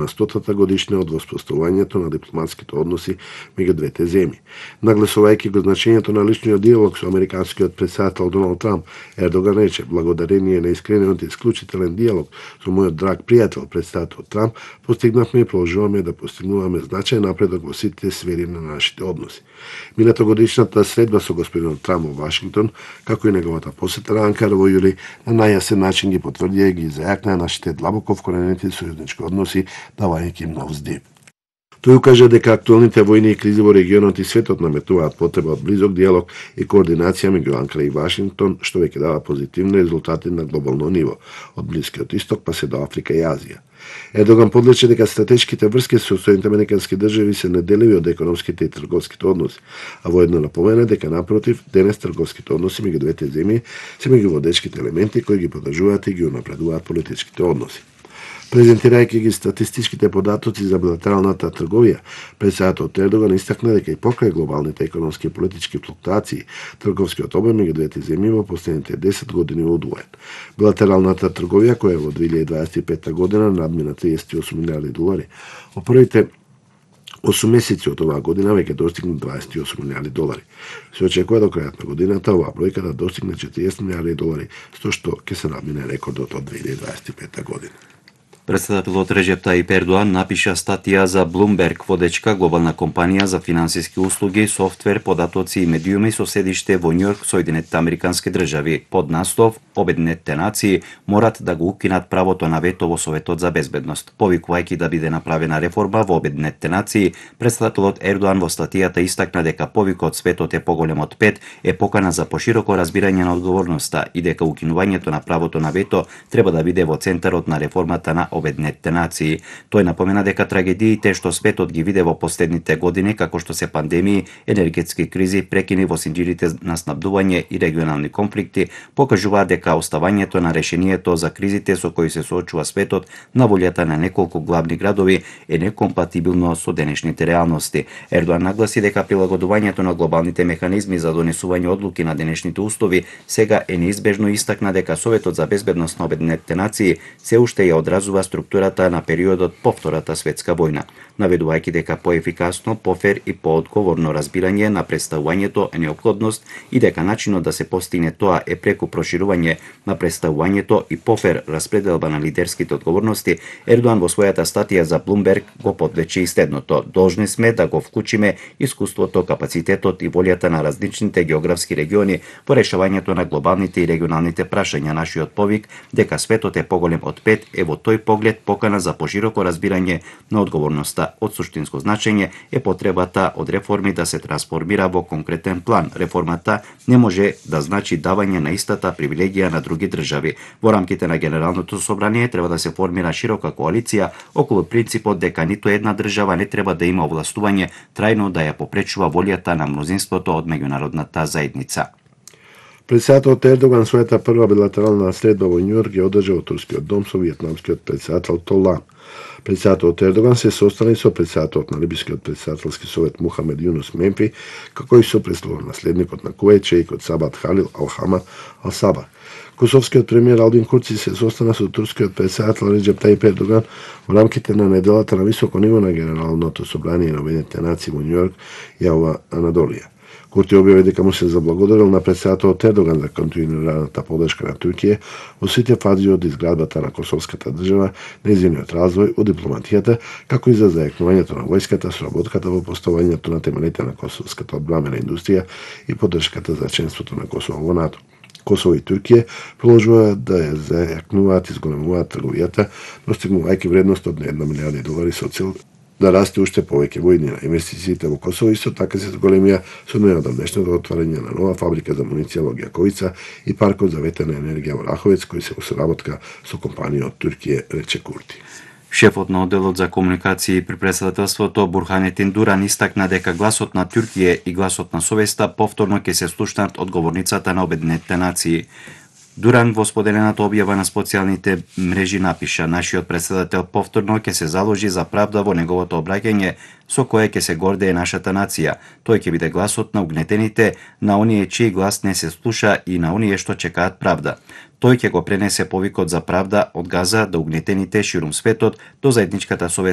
на 100-та годишна од воспоставувањето на дипломатските односи меѓу двете земји. Нагласувајќи го значењето на личниот диалог со американскиот претседател Доналд Трамп, Ердоган рече: благодарение на искрениот и исклучителен диалог со мојот драг пријател претседател Трамп, постигнавме и продолжуваме да постигнуваме значаен напредок во сите сфери на нашите односи. Минатогодишната средба со господинот Трамп во Вашингтон, како и неговата посета на Анкара во јули, на најасен начин ги потврдија и ги зајакнаа нашите длабоко вкоренети сојузнички односи, давајќи им нов здив. Тој укажа дека актуелните војни и кризи во регионот и светот наметнуваат потреба од близок диалог и координација меѓу Анкара и Вашингтон, што веќе дава позитивни резултати на глобално ниво, од Блискиот исток па се до Африка и Азија. Ердоган подлече дека стратешките врски со Соединетите американски држави се неделиви од економските и трговските односи, а воедно напомена дека напротив, денес трговските односи меѓу двете земји се меѓу водечките елементи кои ги поддржуваат и ги унапредуваат политичките односи. Презентирајќи ги статистичките податоци за билатералната трговија, претседателот Ердоган истакна дека и покрај глобалните економски и политички флуктуации, трговскиот обем меѓу двете земји во последните 10 години е удвоен. Билатералната трговија, која во 2025 година надмина 38 милиарди долари, во првите 8 месеци од оваа година веќе достигна 28 милиарди долари. Се очекува до крајот на годината оваа бројка да достигне 40 милиарди долари, со што ќе се надмине рекордот од 2025 година. Претседателот Реджеп Тајип Ердоан напиша статија за Bloomberg, водечка глобална компанија за финансиски услуги, софтвер, податоци и медиуми со седиште во Њујорк, Соединетите американски држави, под наслов Обединетите нации морат да го укинат правото на вето во Советот за безбедност. Повикувајќи да биде направена реформа во Обединетите нации, претседателот Ердоан во статијата истакна дека повикот светот е поголем од 5 е покана за пошироко разбирање на одговорноста и дека укинувањето на правото на вето треба да биде во центарот на реформата на Обединетите нации. Тој напомена дека трагедиите што светот ги виде во последните години, како што се пандемии, енергетски кризи, прекини во синџирите на снабдување и регионални конфликти, покажуваат дека оставањето на решението за кризите со кои се соочува светот на волјата на неколку главни градови е некомпатибилно со денешните реалности. Ердоан нагласи дека прилагодувањето на глобалните механизми за донесување одлуки на денешните услови сега е неизбежно и истакна дека Советот за безбедност на Обединетите нации се уште ја одразува структурата на периодот по Втората светска војна, наведувајќи дека поефикасно, пофер и поодговорно разбирање на представувањето е неопходност и дека начинот да се постигне тоа е преку проширување на представувањето и пофер распределба на лидерските одговорности. Ердоан во својата статија за Bloomberg го подлече и следното: должни сме да го вклучиме искуството, капацитетот и волјата на различните географски региони во решавањето на глобалните и регионалните прашања. Нашиот повик дека светот е поголем од 5 е во тој поглед покана за пошироко разбирање на одговорноста. Од суштинско значење е потребата од реформи да се трансформира во конкретен план. Реформата не може да значи давање на истата привилегија на други држави. Во рамките на Генералното собрание треба да се формира широка коалиција околу принципот дека ниту една држава не треба да има овластување трајно да ја попречува волјата на мнозинството од меѓународната заедница. Претседателот Ердоган својата прва билатерална средба во Њујорк ја одржа во турскиот дом со виетнамскиот претседател Толан. Претседателот Ердоган се состана со претседателот на Либискиот претседателски совет Мухамед Јунус Мемфи, како и со престолонаследникот на Кувејт шејкот Сабат Халил Ал-Хамад Ал-Сабах. Косовскиот премиер Алдин Курци се состана со турскиот претседател Реджеп Тајип Ердоган во рамките на неделата на високо ниво на Генералното собрание на Обединетите нации во Њујорк, Јава Анадолија. Курти објави дека му се заблагодарил на претседателот Ердоган за континуираната поддршка на Туркија во сите фази од изградбата на косовската држава, нејзиниот развој, од дипломатијата, како и за зајакнувањето на војската, соработката во поставањето на темелите на косовската одбранбена индустрија и поддршката за членството на Косово во НАТО. Косово и Туркија продолжуваат да ја зајакнуваат и зголемуваат трговијата, достигнувајќи вредност од 1 милијарди долари со цел да расте уште повеќе во иднина. Инвестициите во Косово исто така се зголемија со најодамнешното отварање на нова фабрика за муниција во Ѓаковица и паркот за ветерна енергија во Раховец, кој се во соработка со компанија од Туркија, рече Курти. Шефот на одделот за комуникации при претседателството Бурханетин Дуран истакна дека гласот на Туркија и гласот на совеста повторно ќе се слушнат од говорницата на Обединетите нации. Дуран во споделената објава на социјалните мрежи напиша: "Нашиот претседател повторно ќе се заложи за правда во неговото обраќање, со кое ќе се гордее нашата нација. Тој ќе биде гласот на угнетените, на оние чиј глас не се слуша и на оние што чекаат правда. Тој ќе го пренесе повикот за правда од Газа до угнетените ширум светот, до заедничката совест